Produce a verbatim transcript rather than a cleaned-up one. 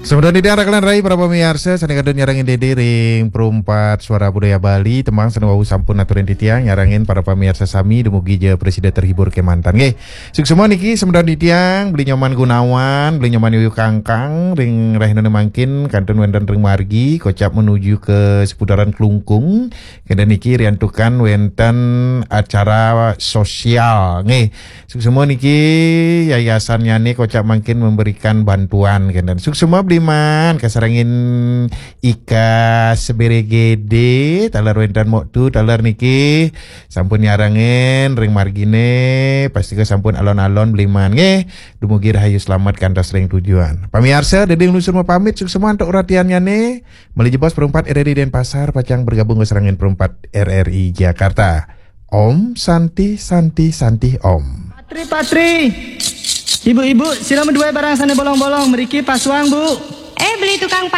Semeton titiang rakelan rai para pamiarsa sané kantun nyarengin Dédé ring Perumpat Suara Budaya Bali, tembang sané wau sampun aturin titiang nyarengin para pamiarsa sami dumugi ja prasida terhibur kémanten nggih. Suksma niki semeton titiang Beli Nyoman Gunawan, Beli Nyoman Yuyu Kangkang ring rahinané mangkin kantun wénten ring margi kocap menuju ke seputaran Klungkung. Kénten niki riantukan wénten acara sosial nggih. Suksma niki yayasannyané kocap mangkin memberikan bantuan kénten. Suksma Bliman kasarengin Ika Seberegede, taler wénten Moktu, taler niki sampun nyarengin ring marginé, pastika sampun alon-alon Bliman nggih. Dumugi rahayu slamet kantos ring tujuan. Pamiarsa, Dédé nglungsur mapamit, suksma antuk uratiannyané. Malih jebos Perumpat R R I Denpasar pacang bergabung kasarengin Perumpat R R I Jakarta. Om Santi Santi Santi Om. Patri, patri. Ibu-ibu, sira madué barang sané bolong-bolong, mriki pasuang, Bu. Eh, beli tukang